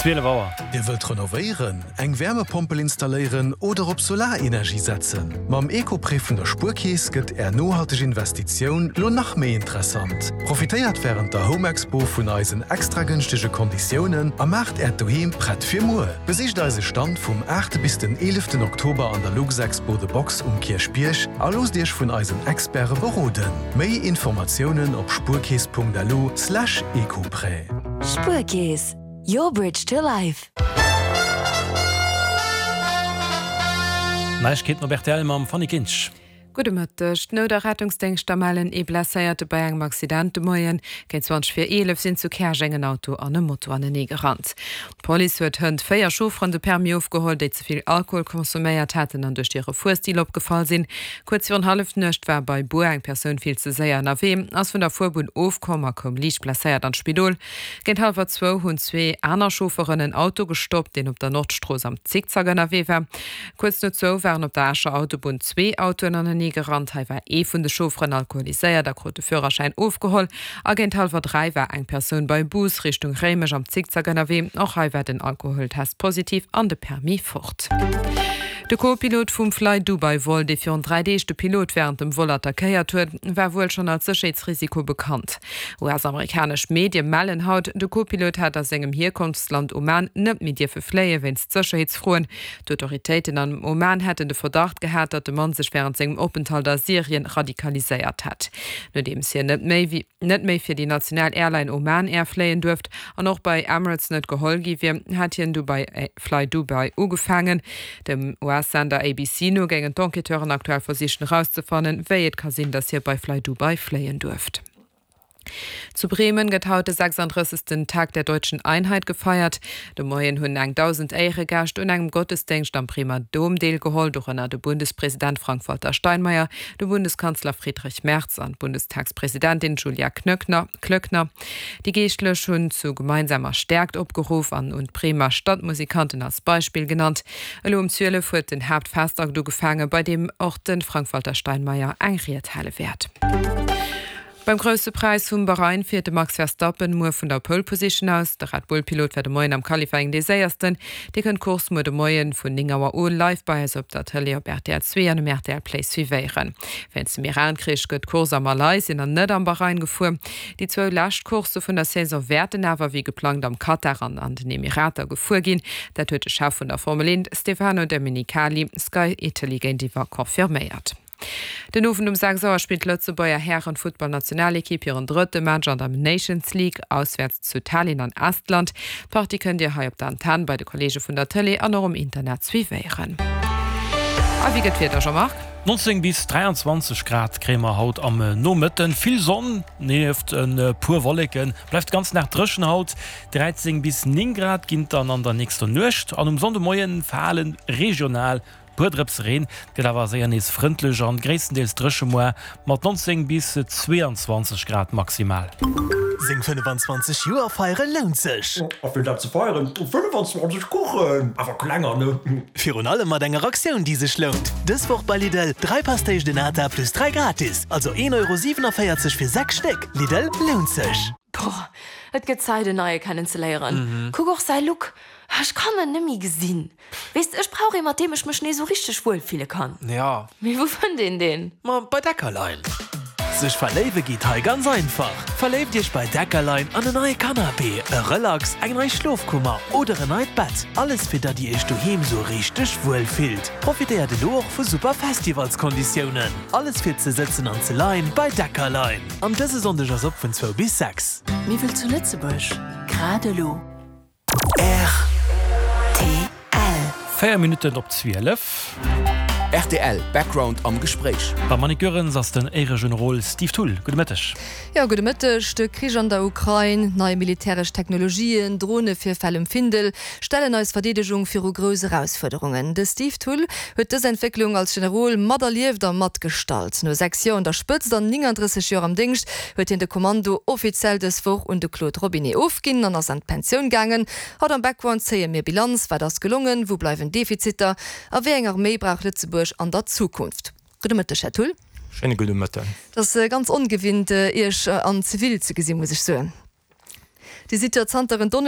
12 Auer. Dir wëllt renovéieren, eng Wärmepompel installéieren oder op Solarenergie setzen? Mam Eco-Prêt vun der Spuerkeess gëtt Är nohalteg Investitioun lo nach méi interessant. Profitéiert wärend der Home Expo vun eisen extra gënschtege Konditiounen a maacht Äert Doheem prett fir muer. Besicht eise Stand vum 8 bis den 11 Oktober an der Luxexpo The Box um Kierchbierg a loosst Iech vun eisen Experte beroden. Méi Informatiounen op spuerkeess.lu slash ecoprêt. Spuerkeess, your bridge to life. Neiegkeeten op rtl mam Fanny Kinsch. Gudde Mëtteg. D'Nout a Rettungsdéngschter mellen ee Blesséierte bei engem Accident de Moien. Géint 20 vir 11 sinn zu Käerjeng en Auto an e Moto anenee gerannt. D'Police huet hënt 4 Chaufferen de Permis ofgeholl, déi ze vill Alkohol consomméiert haten an duerch hire Fuerstil opgefall sinn. Kuerz virun Hallefnuecht war bei Buer eng Persoun vill ze séier ënnerwee, ass vun der Fuerbunn ofkomm a koum liicht blesséiert an d'Spidol. Géint hallwer zwou hunn zwee aner Chaufferen en Auto gestoppt, deen op der Nordstrooss am Zickzack ënnerwee war. Kuerz no zwou waren op der Escher Autobunn zwee Autoen anenee gerannt. Hei war ee vun de Chaufferen alkoholiséiert a krut de Führerschäin ofgeholl. A géint hallwer 3 war eng Persoun bei Bus Richtung Réimech am Zickzack ënnerwee. Och hei war den Alkoholtest positiv an de Permis fort. De Co-Pilot vum Flydubai-Vol, dee virun 3 Deeg de Pilot wärend dem Vol attackéiert huet, war wuel schonn als Sécherheetsrisiko bekannt. US-amerikanesch Medie mellen haut, de Co-Pilot hätt a sengem Hierkonftsland Oman net méi dierfe fléie wéinst Sécherheetsfroen. D'Autoritéiten am Oman hätten de Verdacht gehat, datt de Mann sech wärend sengem Openthalt a Syrien radikaliséiert hätt. Nodeems hien net méi net méi fir déi national Airline Oman Air fléien duerft an och bei Emirates net geholl gi wier, hat hien du bei Flydubai ugefaangen. Dem US-Sender ABC no géingen d'Enquêteuren aktuell versichen erauszefannen, wéi et ka sinn, datt hie bei Flydubai fléien duerft. Zu Bremen gëtt haut de 36. Tag der Deutschen Einheit gefeiert. De Moien hunn eng 1.000 Éieregäscht un engem Gottesdéngscht am Bremer Dom deelgeholl, dorënner de Bundespresident Frank-Walter Steinmeier, de Bundeskanzler Friedrich Merz an d'Bundestagspresidentin Julia Klöckner. Déi Geeschtlech hunn zu gemeinsamer Stäerkt opgeruff an un d'Bremer Stadtmusikanten als Beispill genannt. Elo um 12 huet den Haaptfestakt ugefaangen, bei deem och de Frank-Walter Steinmeier eng Ried hale wäert. Beim Grousse Präis vum Bahrain fiert de Max Verstappen muer vun der Pole Position aus. De Red Bull Pilot war de Moien am Qualifying dee séiersten. Dir kënnt d'Course muer de Moien vun 9 Auer u live bei eis op der Tëlee op rtl 2 an um rtl Play suivéieren. Wéinst dem Iran-Krich gëtt d'Course a Malaysien an net am Bahrain gefuer. Déi zwou lescht Coursse vun der Saison wäerten awer wéi geplangt am Katar an an den Emirater gefuer ginn. Dat huet de Chef vun der Formel 1, Stefano Domenicali, Sky Italy géintiwwer confirméiert. Den Owend um 6 Auer spillt d'Lëtzebuerger Hären-Futtballnationalekipp hiren drëtte Match an der Nations League, auswäerts zu Tallinn an Estland. D'Partie kënnt Dir hei op der Antenn, bei de Kolleege vun der Tëlee an och um Internet suivéieren. A wéi gëtt d'Wieder, Jean-Marc? 19 bis 23 Grad kréie mer haut am Nomëtten. Vill Sonn nieft e puer Wolleken. Bleift de ganzen Dag dréchen haut. 13 bis 9 Grad ginn et dann an der nächster Nuecht an um Sonndemoie fale regional Puer Drëpse Reen, et gëtt awer séier nees frëndlech an gréisstendeels dréche moar mat 19 bis 22 Grad maximal. Seng 25 Joer feiere lount sech! A fir dat ze feieren, 25 Kuchen, awer klenger, ne? Virun allem mat enger Aktioun déi sech lount! Dës Woch bei Lidl, 3 Pastéis de Nata plus 3 gratis, also 1,47 Euro fir 6 Stéck. Lidl, lount sech! Boah, et gëtt Zäit en neie kennen ze léieren. Kuck och säi Look, ech kann en nemmi gesinn. Weess de, ech brauch ee mat deem ech mech nees esou richteg wuel fille kann. Ja. Mee wou fënnt een deen? Ma bei Deckerlein. Sech verléiwe geet hei ganz einfach! Verléift iech bei Deckerlein an en neie Canapé, e Relax, eng nei Schlofkummer oder en neit Bett. Alles fir datt dir iech doheem sou richteg wuel fillt. Profitéiert elo och vu super Festivalskonditiounen. Alles fir ze sëtzen an ze leien bei Deckerlein. An dëse Sonndeg ass op vun zwou bis 6. Mir wëll zu Lëtzebuerg, grad elo. Rtl. 4 Minutten op 12. Rtl Background am Gespréich. Beim Annick Goerens ass den Éiregenerol Steve Thull. Gudde Mëtteg. Jo, gudde Mëtteg. De Krich an der Ukrain, nei militäresch Technologien, Dronevirfäll um Findel stellen eis Verdeedegung viru grouss Erausfuerderungen. De Steve Thull huet dës Entwécklung als Generol materlieft a matgestalt. No 6 Joer un der Spëtzt an 39 Joer am Déngscht huet hien de Kommando offiziell dës Woch un de Claude Robinet ofginn an ass an d'Pensioun gaangen. Haut am Background zéie mir Bilanz, Wat ass gelongen, wou bleiwen Defiziter a wéi eng Arméi brauch Lëtzebuerg an der Zukunft? Gudde Mëtteg, Här Thull. Schéine gudde Mëtten. Et ass ganz ongewinnt, Iech an Zivil ze gesinn, muss ech soen. Dir sidd jo zanter en Donneschdeg.